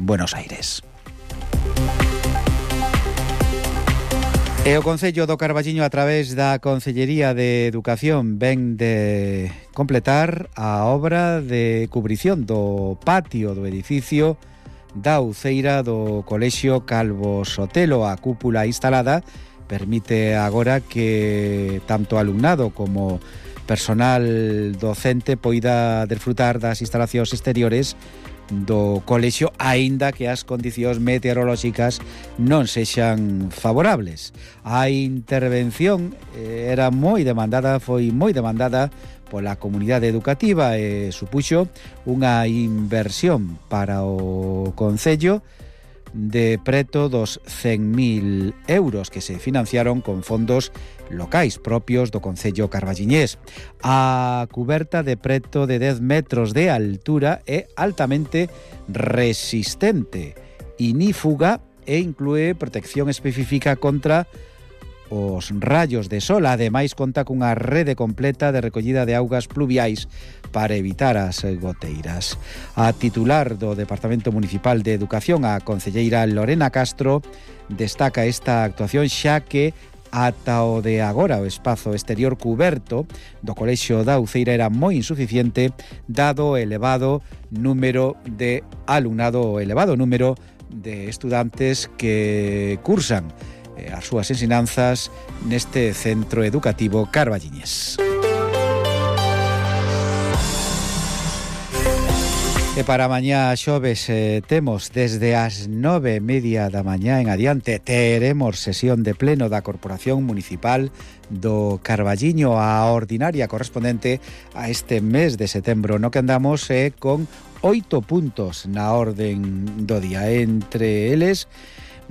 Buenos Aires. E o Concello do Carballiño, a través da Concellería de Educación, ven de completar a obra de cubrición do patio do edificio da Uceira do Colexio Calvo Sotelo. A cúpula instalada permite agora que tanto alumnado como personal docente poida desfrutar das instalacións exteriores do colexio, aínda que as condicións meteorolóxicas non sexan favorables. A intervención era moi demandada, foi moi demandada pola comunidade educativa e supuxo unha inversión para o Concello de preto dos 100.000 euros que se financiaron con fondos locais propios do Concello carballiñés. A cuberta de preto de 10 metros de altura é altamente resistente, inífuga e inclúe protección específica contra os rayos de sol. Ademais, conta cunha rede completa de recollida de augas pluviais para evitar as goteiras. A titular do Departamento Municipal de Educación, a concelleira Lorena Castro, destaca esta actuación xa que ata o de agora o espazo exterior cuberto do Colexio da Uceira era moi insuficiente dado o elevado número de alumnado, o elevado número de estudantes que cursan as súas ensinanzas neste centro educativo carballiñés. E para mañá xoves temos desde as 9:30 da mañá en adiante teremos sesión de pleno da Corporación Municipal do Carballiño, a ordinaria correspondente a este mes de setembro, no que andamos con 8 puntos na orden do día. Entre eles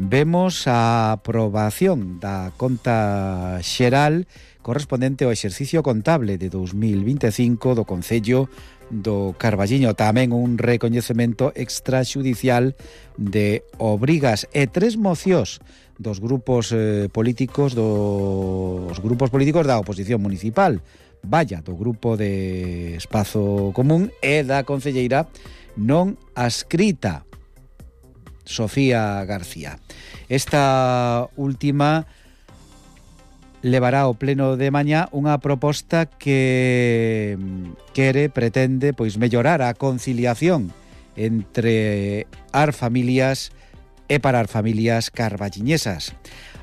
vemos a aprobación da conta xeral correspondente ao exercicio contable de 2025 do Concello do Carballiño. Tamén un recoñecemento extraxudicial de obrigas e 3 mocións dos grupos políticos da oposición municipal, do grupo de Espazo Común e da concelleira non adscrita, Sofía García. Esta última levará ao pleno de mañá unha proposta que pretende mellorar a conciliación entre as familias e para as familias carballiñesas.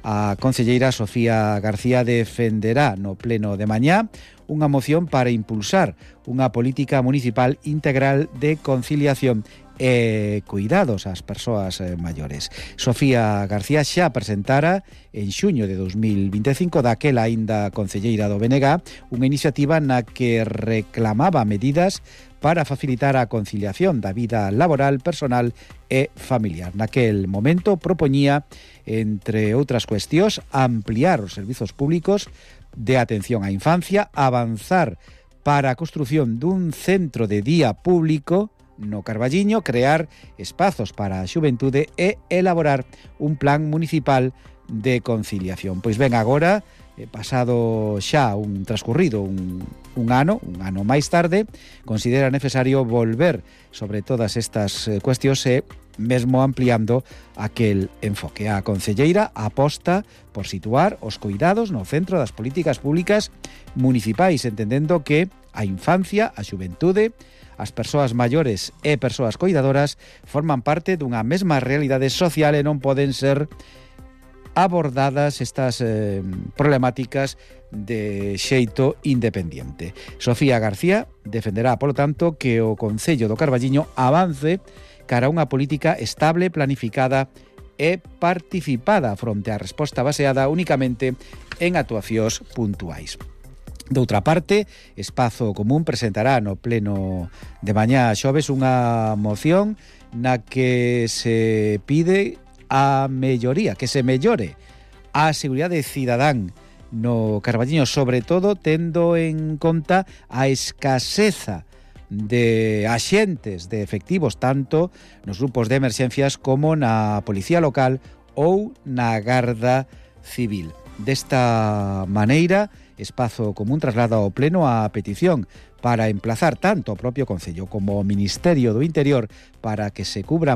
A concelleira Sofía García defenderá no pleno de mañá unha moción para impulsar unha política municipal integral de conciliación e cuidados ás persoas maiores. Sofía García xa presentara en xuño de 2025, daquela aínda concelleira do BNG, unha iniciativa na que reclamaba medidas para facilitar a conciliación da vida laboral, personal e familiar. Naquel momento propoñía, entre outras cuestións, ampliar os servizos públicos de atención á infancia, avanzar para a construción dun centro de día público no Carballiño, crear espazos para a xuventude e elaborar un plan municipal de conciliación. Pois ben, agora, pasado xa transcurrido un ano máis tarde, considera necesario volver sobre todas estas cuestións e mesmo ampliando aquel enfoque. A concelleira aposta por situar os cuidados no centro das políticas públicas municipais, entendendo que a infancia, a xuventude, as persoas maiores e persoas coidadoras forman parte dunha mesma realidade social e non poden ser abordadas estas problemáticas de xeito independente. Sofía García defenderá, polo tanto, que o Concello do Carballiño avance cara a unha política estable, planificada e participada fronte á resposta baseada únicamente en actuacións puntuais. Doutra parte, Espazo Común presentará no pleno de mañá xoves unha moción na que se pide a melloría, que se mellore a seguridade cidadán no Carballiño, sobre todo tendo en conta a escaseza de axentes, de efectivos, tanto nos grupos de emerxencias como na Policía Local ou na Garda Civil. Desta maneira, Espazo Común traslada ao pleno a petición para emplazar tanto o propio Concello como o Ministerio do Interior para que se cubran